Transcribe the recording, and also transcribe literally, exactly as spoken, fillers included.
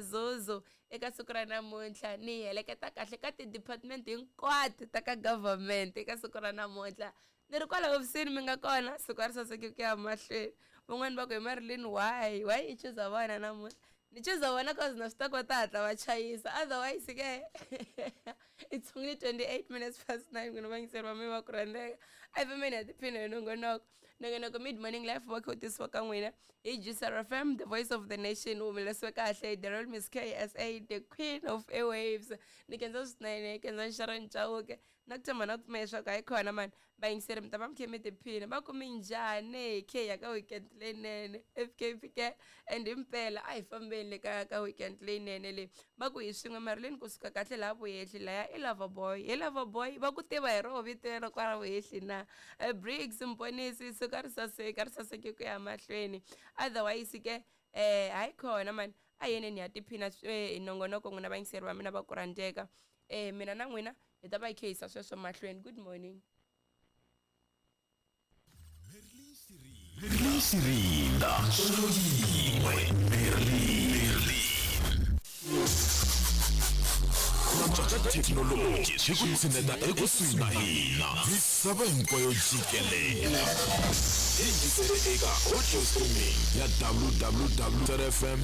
Zuzu eka siku ra namuntlha ni heleketa kahle ka ti-department hinkwato ta ka government eka siku ra namuntlha ni ri kwala hofisini mi nga kona siku a ri saseki ku ya mahlweni van'wani va ku hi Marilyn why why i chuza vona namuntlha ni chuza vona cause na swi ta ku va ta hatla va chayisa otherwise ke it's only twenty-eight minutes past nine n'wina vayingiseri va mina va ku rhandzeka a hi fambeni hi tiphina hi nongonoko nongonoko mid morning life wa kha wu tisiwa ka n'wina hi Juicer F M, the voice of the nation, wu humelerisiwe kahle hi the Royal Miss K S A, the queen of airwaves. Ni khensa swinene, khensa Sharon Chauke na ku tshemba na ku pfumela leswaku hayi khona mani vayingiseri mi ta va mi khe mi tiphina va ku minjhani khe ya ka weekend leyinene F K P ke and himpela a hi fambeni le ka ka weekend leyinene leyi va ku hi swin'we Marilyn kusuka kahle laha vuhehli laya i Lover Boy hi Lover Boy va ku tiva hi roho vito lero kwala vuhehli na Briggs Mponisi siku a ri saseka a ri saseke ku ya mahlweni otherwise ke eh hayi khona mani a yeneni ya tiphina hi nongonoko n'wina vayingiseri va mina va ku rhandzeka eh mina na n'wina hi ta va hi khe yisa sweswo mahlweni. Good morning. Merlin Sirinda Solo yin'we Merlin Ku ka thekinoloji swi ku tshineta ekusuhi na hina misava hinkwayo jikelele yingisele eka audio streaming ya W W W F M.